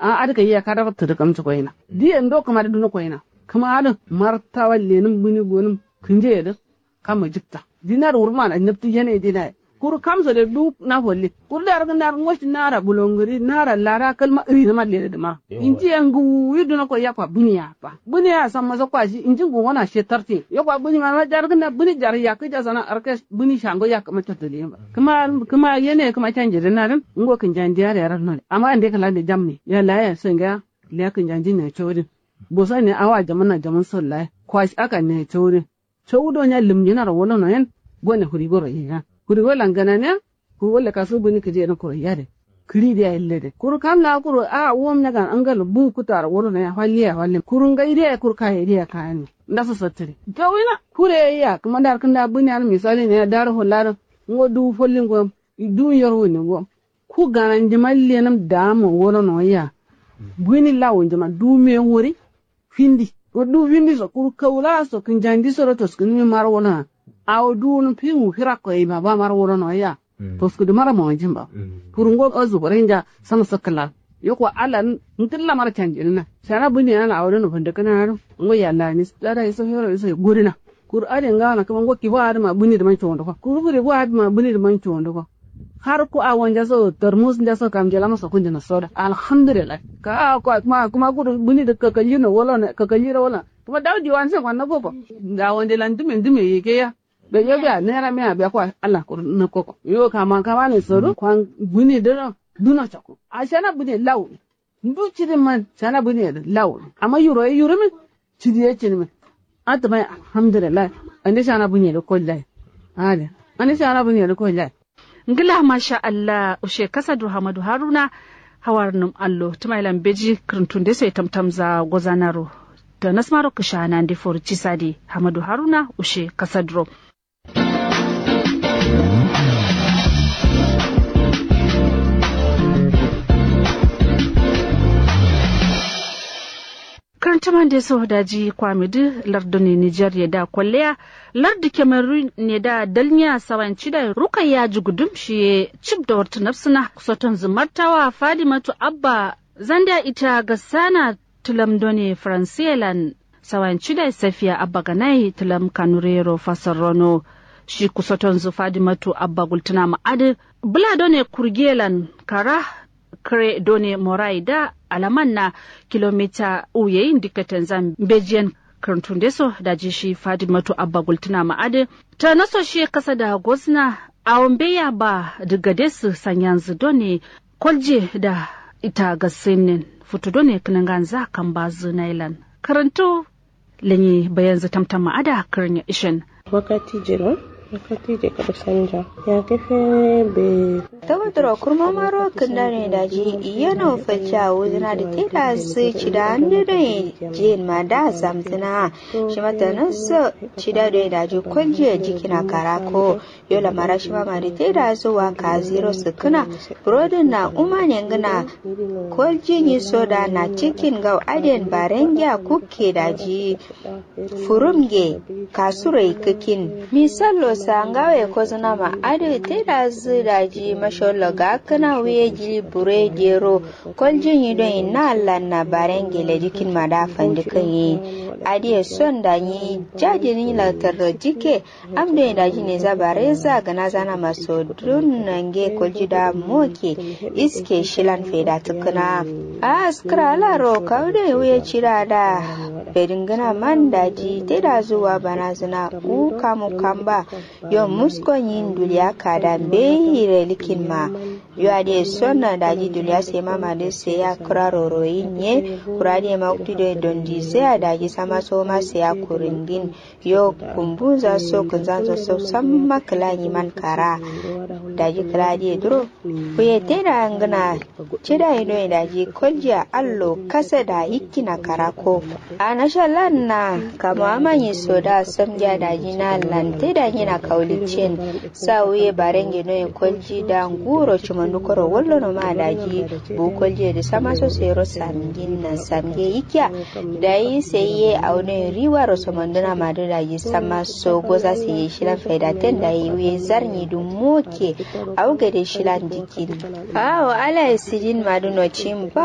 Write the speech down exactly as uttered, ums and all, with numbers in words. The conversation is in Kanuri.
A'a adǝ kayya kadaro tǝdǝ kamci koyina. Diye ndo kǝma dǝ duno koyina. Kǝma adǝ martawa lenǝm bǝni gonǝm kǝnjeye dǝ. Kamma jikta dinar wurma na nabtǝ yene dinaye. Kuru kamso de du na folle kuru da rǝgǝ nar ngoci nara bulongǝri nara lada kalma ǝri nǝma lede dǝma. Inji ye ngǝwuwi duno koyya kwa bǝniya ba bǝniya samma so kwa shi inji ngǝwona she tarti yo kwa bǝni ma ma jar gǝna bǝni jar yakkǝ jasana arke bǝni shango yakkǝ ma cotto leyin ba. Kǝma kǝma yene kǝma canje dǝ nadǝn ngo kǝnjandiya da yaran none amma ande kǝlande jamne ya laya so ngiya. Leya kǝnjanji ne codin bosa ne awa jaman na jaman so laya kwa shi aka ne codin. Cowudo nya lǝmjinaro wolono yen. Gone furigoro yiya furigolan gananiya. Kuru walla kasu bǝni kǝji yedǝn kuro yade kǝri diya ille de kuru kam la kuro a wom nyagan angalo bu kutaro wolono ya falliya fallim kuru ngai diya kuru kaye diya kayani. Ndaso sottǝri cowina kure ya kǝma ndar kǝnda bǝni ar misali ne ya daro fallado. Ngo du fallingo du yorwuni ngo ku gananji mallenǝm damo wolono ya. Bǝni lawunjima du me wuri. Findi kuru du findi so kuru kaula so kǝnjandi soro toskǝnǝmi maro wolono. Awo duwunǝm fiwu firakko ye ma ba maro wolono ya. Toskǝdǝ maro mawonjin ba kuru ngo azu bore nja. Sano so kǝla yo kwa ala ngǝlla maro canjinǝna. Shana bǝni ana awo dono fandǝkǝna ado ngo yalla ni lada iso fero iso ye godǝna. Kuru adǝ ye ngawana kǝma ngo kibo adǝ ma bǝni dǝ man condo ko kuru bǝri bo adǝ ma bǝni dǝ man condo ko. Har ku awo nja so tarmus nja so kam nja lama so kunjina soda alhamdulillah. Ka awo kwa kuma kuma kuru bǝni dǝ kakaljino wolo ne kakaljiro wolo. Kuma dawo diwan se kwanna koko. Awo nja lan dǝme dǝme yike ya. Be yo biya nera miya biya kwa allah kuru nǝkkoko yo kama kama ne sodu kwan bǝni dǝ no. Duno cako ashana bǝni lawu. Ndu cidi man shana bǝni yedǝ lawu amma yuro ye yurǝmin. Cidi ye cinimin. Atǝmai alhamdulillah. Ande shana bǝni yedǝ kollai. Ade ande shana bǝni yedǝ kollai. Ngla masha allah ushe kasadǝ hamadu haruna. Hawarnǝm allo tǝmailan beji kǝrǝntunde so ye tamtamza gozanaro. Tanasmaro kǝshanande foru cisade hamadu haruna ushe kasadǝro. Kǝrǝntǝmande so daji kwamidǝ lardone nijer ye da kolleya. Lardǝ kemerun ye da dalnya sawayen cidaye rukayya jugudum shiye cibdo wartǝ nafsǝna. Sotonzǝ martawa fadimatu abba zandiya ita gassana. Tǝlam done faransiyelan sawayen cidai safiya abba ganai tǝlam kanurero fasarrono. Shi kusotonzǝ fadimatu abba gultǝna ma adǝ bǝla done kurgiyelan kara. Kǝre done morai da alaman na kilomita uyeyin dikkaten zan mbejiyen. Kǝrǝntunde so daji shi fadimatu abba gultǝna ma adǝ. Tano so shiye kasa da gozna. Awo mbeya ba dǝgade sǝ sanyanzǝ done. Kolje da ita gassǝnnen futu done kǝnǝnganza kambazǝ nailan. Kǝrǝntu lenyi bayanzǝ tamtamma ada kǝrǝnya ishen. Wakati jiro wakati je kado sanja ya kefe be. Tawaturo kurmamaro kǝndane daji iyeno falciya wuzǝna dǝ tedazǝ cida ande done. Jiyen ma da samzǝna. Shima tanaso cida done daji kolje jikina karako. Yo lamara shima mari tedazǝ wa kaziro sǝkkǝna. Burodǝn na umane ngǝna. Kolji nyi soda na cikin ngau aden barengiya kukke daji. Furum nge kasuro ikkǝkin. Misallo sangawe kozǝna ma adǝ tedazǝ daji mashallo gakkǝna wuye jili bure dero. Kolji nyi doi na allan na barenge ledikin ma da fandǝkǝn ye. Adiye son da nyi jajini latarro jikke. Am doi daji neza bareza gǝnazana ma sodun nange kolji da moke. Iske shilan feda tǝkkǝna. Askǝra laro kawu doi wuye cida da. Fedǝngǝna man daji tedazǝ wa banazǝna. U kamu kamba. Yo musko nyi nduliya kada mbeyi relikin ma. Yo adǝ ye sonna daji duniya sema madǝ seya kǝra roroyin ye. Kura adǝ ye ma waktu doi dondizeya daji sama soma seya kurungin. Yo kumbunza so kǝnzanzo so samma kǝla nyiman kara. Daji kǝla adǝ ye duro. Kuye tena ngǝna. Cida ye doi daji koljiya allo kasa da yikkina kara ko. Anasha lan na kamo amanyi soda samja daji na lan tedanyina kauliccin. Sa wuye barenge noye kolji da nguro cimandukoro wallono ma daji. Bu kolji yedǝ samaso sero samjin na samje yikkiya. Dayi saiye awo noye riwaro samanduna madǝ daji samaso goza saiye shilan faidaten dayi wuye zarnyi dǝ moke. Awo gade shilan dikkin. Awo alaye sidin madǝ nocin ba.